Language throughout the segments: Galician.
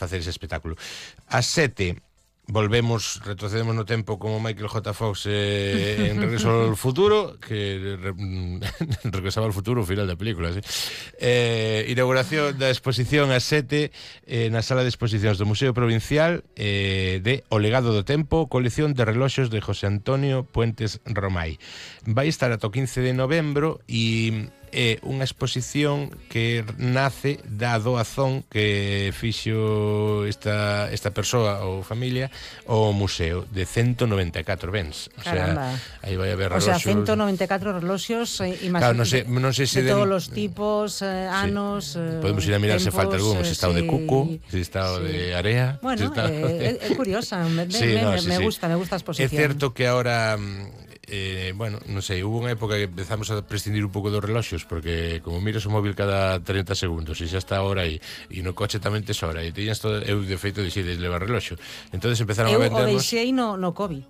facer ese espectáculo. Ás 7 retrocedemos no tempo como Michael J. Fox en Regreso ao Futuro, que regresaba ao futuro ao final da película, ¿sí? Inauguración da exposición ás 7 na sala de exposicións do Museo Provincial de O Legado do Tempo, colección de reloxos de José Antonio Puentes Romai. Vai estar ata o 15 de novembro e é unha exposición que nace da doazón que fixo esta persoa ou familia ao museo de 194 bens. O Caramba. sea, aí vai haber O reloxos. sea, 194 reloxos, claro, non sei se de todos os tipos, anos, podemos ir a mirar se falta algún, se está o de cuco, se está o de area. Bueno, é curiosa, me gusta a exposición. É certo que ahora bueno, non sei, hubo unha época que empezamos a prescindir un pouco dos reloxos, porque como miras o móvil cada 30 segundos e xa está a hora e no coche tamén tes hora e tiñas todo, eu de feito decides levar reloxo, entonces empezaron a vendernos. Eu o deixei no COVID,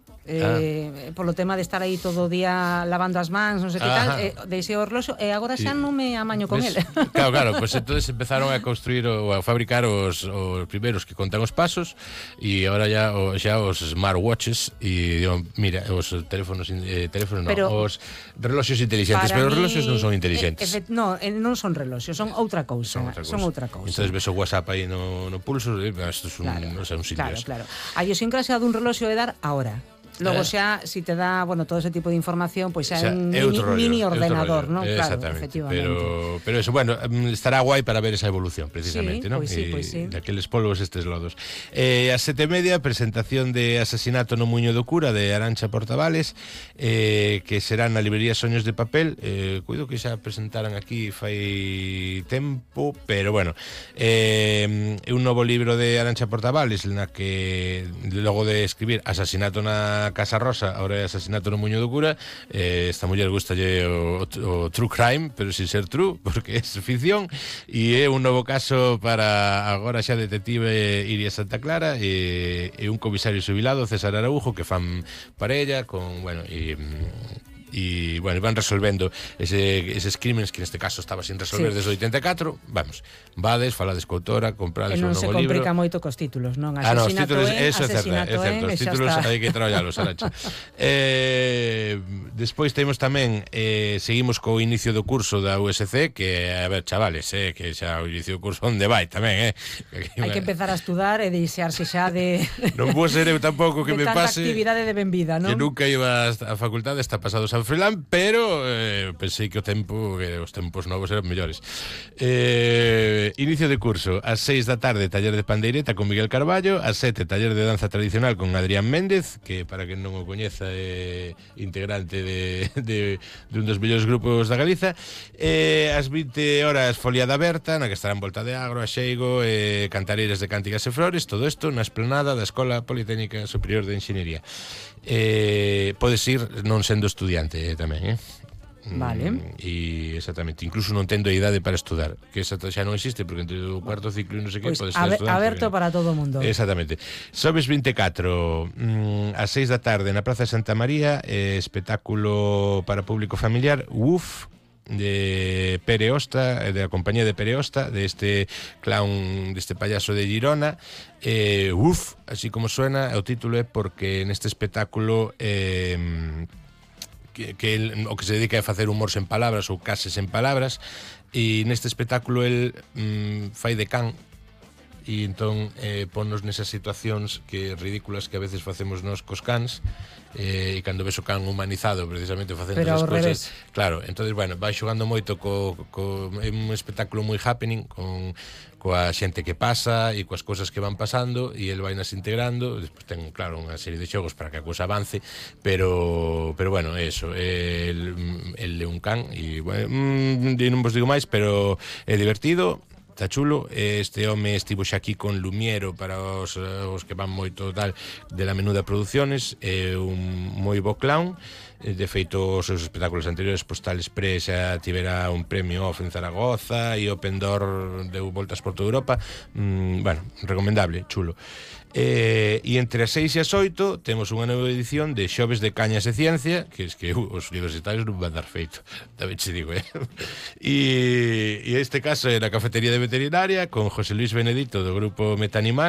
polo tema de estar aí todo o día lavando as mans, non sei que tal, deixei o reloxo e agora xa non me amaño con ele. Claro, pues entonces empezaron a construir ou a fabricar os primeiros que contan os pasos e agora xa os smartwatches e digo, mira, os teléfonos os reloxos inteligentes, pero os reloxos non son inteligentes. Non son reloxos, son outra cousa. Son outra cousa. Entonces ves o WhatsApp aí no pulso, isto é un sitios. Claro. A idiosincrasia dun reloxo é dar a hora. Logo xa, si te dá, todo ese tipo de información, pois xa é un mini ordenador, non? Claro, efectivamente. Pero eso, bueno, estará guai para ver esa evolución, precisamente, non? Pois sí. Daqueles polvos estes lodos. A 7:30, presentación de Asesinato no Muiño do Cura, de Arantxa Portavales, que será na librería Soños de Papel. Cuido que xa presentaran aquí fai tempo, pero bueno, é un novo libro de Arantxa Portavales, na que, logo de escribir Asesinato na Casa Rosa, ahora é Asesinato no Muiño do Cura, esta muller gustalle o true crime, pero sin ser true, porque é ficción, e é un novo caso para agora xa detective Iria Santa Clara e un comisario xubilado, César Araujo, que fan parella con, bueno, e bueno, van resolvendo eses crímenes que neste caso estaba sin resolver desde o 84. Vamos, vades, falades co autora, comprades un novo libro. Non se complica moito cos títulos, non? Asesinato eso é certo, os títulos hai que traballalos, Arantxa. Despois temos tamén, seguimos co inicio do curso da USC, que, a ver, chavales, que xa o inicio do curso onde vai tamén, hai que empezar a estudar e deixarse xa de non vou ser eu tampouco que me pase tanta actividade de benvida, non? Que nunca iba á facultade, está pasado San Froilán, pero pensei que os tempos novos eran mellores. Inicio de curso ás 6 da tarde, taller de pandeireta con Miguel Carballo, ás 7 taller de danza tradicional con Adrián Méndez, que para quen non o coñeza é integrante de un dos mellores grupos da Galiza. Ás 20 horas foliada aberta, na que estarán Volta de Agro, Axeigo, cantareiras de cánticas e flores, todo isto na esplanada da Escola Politécnica Superior de Enxeñería. Podes ir non sendo estudiante tamén, Vale. E exactamente, incluso non tendo a idade para estudar, que esa xa non existe, porque entre o cuarto ciclo e non sei que podes ser estudante. Aberto para todo o mundo. Exactamente. Xoves 24 ás 6 da tarde na Praza de Santa María, espectáculo para público familiar, WUF, de Pere Osta, da compañía de Pere Osta, deste clown, deste payaso de Girona. WUF, así como suena, o título é porque neste espectáculo que o que se dedica é facer humor sen palabras ou cases sen palabras, e neste espectáculo el fai de can e entón ponnos nesas situacións que ridículas que a veces facemos nós cos cans, e cando ves o can humanizado precisamente facendo esas cousas, claro, entonces bueno, vai xogando moito é un espectáculo moi happening coa xente que pasa e coas cousas que van pasando, e el vai nas integrando. Despois ten, claro, unha serie de xogos para que a cousa avance, pero bueno, eso, el é un can e bueno, non vos digo máis, pero é divertido. Está chulo, este home estivo xa aquí con Lumiero para os que van moito tal de la Menuda Producciones, un moi bo clown, De feito, os seus espectáculos anteriores, Postal Express xa tivera un premio off en Zaragoza e o Pendor deu voltas por toda Europa. Bueno, recomendable, chulo. E entre as 6 e as 8 temos unha nova edición de Xoves de Cañas e Ciencia, que es que os universitarios non van dar feito, tamén che digo, e este caso é na Cafetería de Veterinaria con José Luis Benedito do grupo Metanimal.